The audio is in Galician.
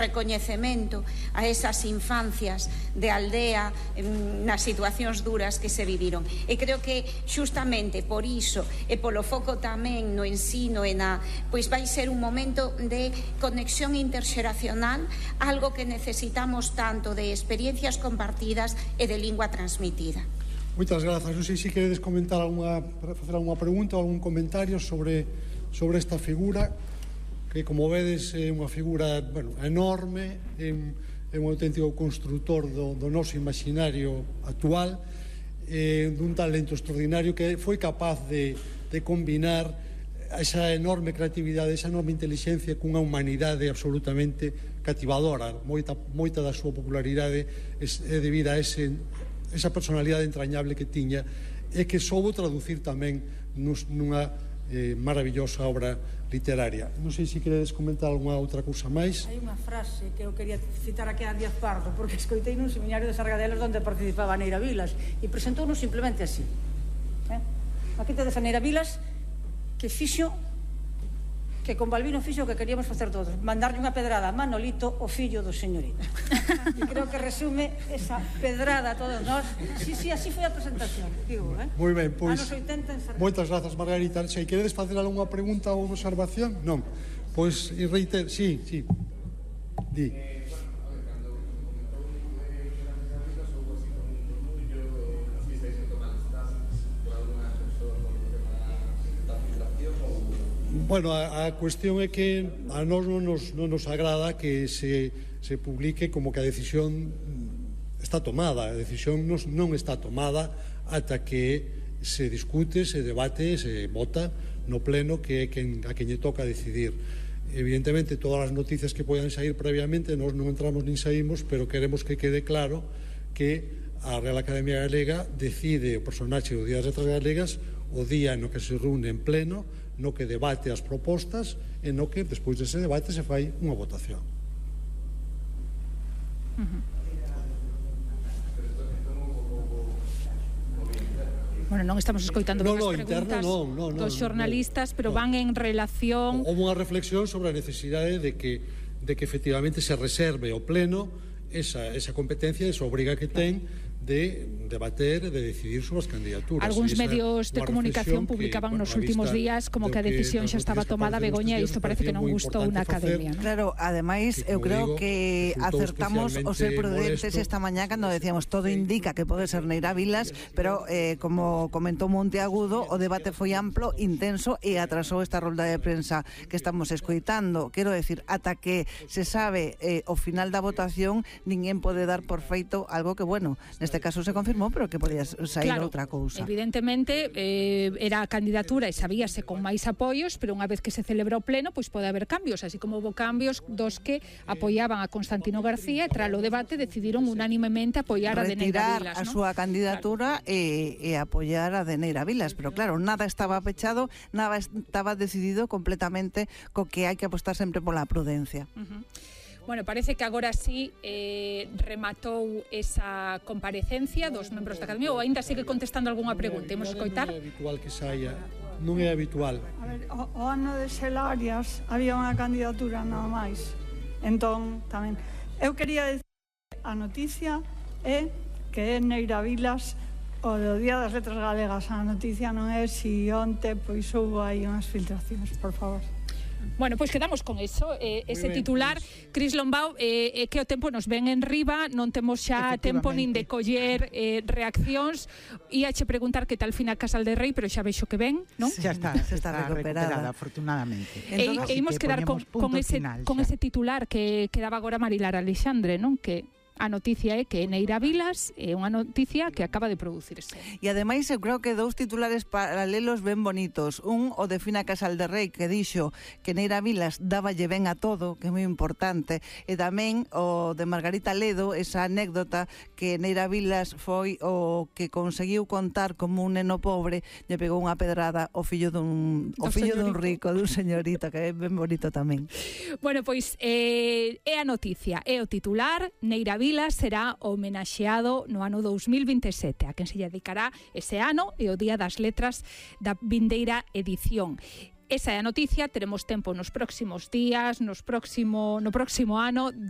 recoñecemento a esas infancias de aldea nas situacións duras que se viviron. E creo que xustamente por iso e polo foco tamén no ensino e pois vai ser un momento de conexión interxeracional, algo que necesitamos tanto de experiencias compartidas e de lingua transmitida. Moitas grazas. Non sei se queredes comentar facer algunha pregunta ou algún comentario sobre esta figura, que, como vedes, é unha figura enorme, é un auténtico construtor do noso imaginario actual, dun talento extraordinario que foi capaz de combinar esa enorme creatividade, esa enorme inteligencia cunha humanidade absolutamente cativadora. Moita da súa popularidade é debida a esa personalidade entrañable que tiña e que soubo traducir tamén nunha maravillosa obra literaria. Non sei se queredes comentar algunha outra cousa máis. Hai unha frase que eu quería citar aquí a Díaz Pardo, porque escoitei nun seminario de Sargadelos onde participaba Neira Vilas e presentounos simplemente así. Aquí tedes a Neira Vilas que fixo, que con Balbino fixo o que queríamos facer todos, mandarlle unha pedrada a Manolito, o fillo do señorito. E creo que resume esa pedrada a todos nós. Sí, así foi a presentación, digo, Moi ben, pois, anos 80 en Sargadelos. moitas grazas, Margarita. Se queredes facer algunha pregunta ou observación? Non. Pois, reiter, sí, di. Bueno, a cuestión é que a nós non nos agrada que se publique como que a decisión está tomada. A decisión non está tomada ata que se discute, se debate, se vota no pleno, que é a quen lle toca decidir. Evidentemente, todas as noticias que poidan sair previamente nós non entramos nin saímos, pero queremos que quede claro que a Real Academia Galega decide o personaxe do Día das Letras Galegas o día no que se reúne en pleno, no que debate as propostas e no que, despois dese debate, se fai unha votación. Bueno, non estamos escoitando ben as preguntas dos xornalistas, pero van en relación... Houve unha reflexión sobre a necesidade de que efectivamente se reserve ao pleno esa competencia, esa obriga que ten de debater e de decidir sobre as candidaturas. Algúns medios de comunicación publicaban nos últimos días como que a decisión xa estaba tomada, Begoña, e isto parece que non gustou na Academia. Claro, ademais, eu creo que acertamos o ser prudentes esta mañá cando decíamos todo indica que pode ser Neira Vilas, pero como comentou Monteagudo, o debate foi amplo, intenso e atrasou esta rolda de prensa que estamos escoitando. Quero decir, ata que se sabe o final da votación, ninguén pode dar por feito algo que, bueno, neste caso se confirmou, pero que podía sair outra cousa. Evidentemente, era a candidatura e sabíase con máis apoios, pero unha vez que se celebra o pleno, pois pode haber cambios, así como houve cambios dos que apoiaban a Constantino García e tras o debate decidiron unánimemente apoiar a de Neira Vilas, retirar a súa candidatura e apoiar a de Neira Vilas, pero claro, nada estaba pechado, nada estaba decidido completamente co que hai que apostar sempre pola prudencia. Bueno, parece que agora sí rematou esa comparecencia dos membros da Academia, ou ainda sigue contestando algunha pregunta. Imos escoitar. Non é habitual que saia, non é habitual. A ver, o ano de Xelarias había unha candidatura nada máis. Entón, tamén, eu quería decir a noticia é que é Neira Vilas o do Día das Letras Galegas. A noticia non é si onte pois houve aí unhas filtracións, por favor. Bueno, pois quedamos con eso, ese titular. Cris Lombao, que o tempo nos ven en riba, non temos xa tempo nin de coller reaccións. Iache preguntar que tal Fina Casal de Rei, pero xa vexo que ven, non? Xa está recuperada, afortunadamente. E imos quedar con ese titular que quedaba agora Marilar Alexandre, non? Que a noticia é que Neira Vilas é unha noticia que acaba de producirse. E ademais eu creo que dous titulares paralelos ben bonitos. Un, o de Fina Casal de Rei, que dixo que Neira Vilas dáballe ben a todo, que é moi importante, e tamén o de Margarita Ledo, esa anécdota que Neira Vilas foi o que conseguiu contar como un neno pobre, lle pegou unha pedrada ao fillo dun rico, dun señorito, que é ben bonito tamén. Bueno, pois é a noticia, é o titular. Neira Vilas será homenaxeado no ano 2027, a quen se lle dedicará ese ano e o Día das Letras da vindeira edición. Esa é a noticia, teremos tempo nos próximos días, no próximo ano de